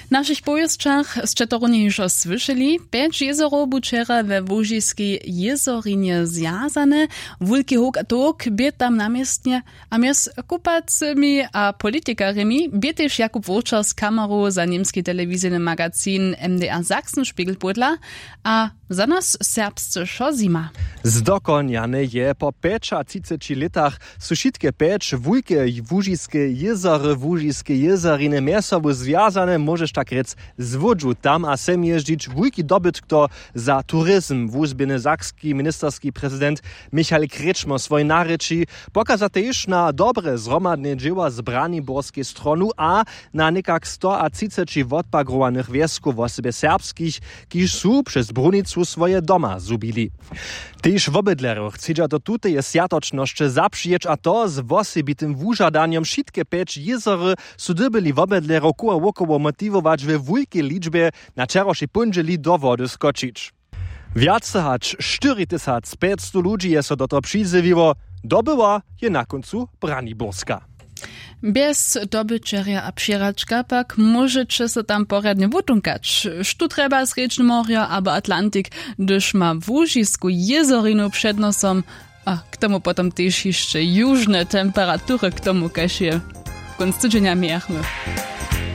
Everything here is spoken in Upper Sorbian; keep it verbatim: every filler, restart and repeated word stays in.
W našich powěsćach sće to runje hižo słyšeli. Pjeć jězorow bu wčera we łužiskej jězorinje zwjazane. Wulki howk a towk bě tam na městnje. A mjez kupacemi a politikarjemi bě tež jakub wowčer z kameru za němski telewizijny magazin mdr sachsenspiegel pódla. A za nas serbsce wšo zjima. Zdokonjane je. Po pjećatřiceći lětach su wšitke pjeć wulke łužiske jězory łužiske jězoriny mjez sobu zwjazane, móžeš tak rěc, z łódźu tam a sem jězdźić wulki dobytk to za turizm wuzběhny sakski ministerski prezident michal krječmo swojej narěči. Pokaza tež na dobre zhromadne dźěła z braniborskej stronu a na někak stoatřiceći wotpagrowanych wjeskow wosebje serbskich, kiž su přez brunicu swoje doma zhubili. Tež wobydlerjow chcedźa do tuteje swjatočnosće zapřijeć a to z wosebitym wužadanjom. Wšitke pjeć jězory su dyrbjeli wobydlerjow koło wokoło motiwować we wulkej ličbje na wčerawšej póndźeli do wody skočić. Wjace hač štyri tysac pjećstow ludźi je so do toho přizjewiło. Dobyła je na kóncu braniborska. Bjez dobyćerja a přihračka pak móžeće so tam porjadnje wutunkać. Štó trjeba srjedźne morjo abo atlantik, hdyž ma łužisku jězorinu před nosom. A k tomu potom tež hišće južne temperatury k tomu kaž je kónc tydźenja mějachmy.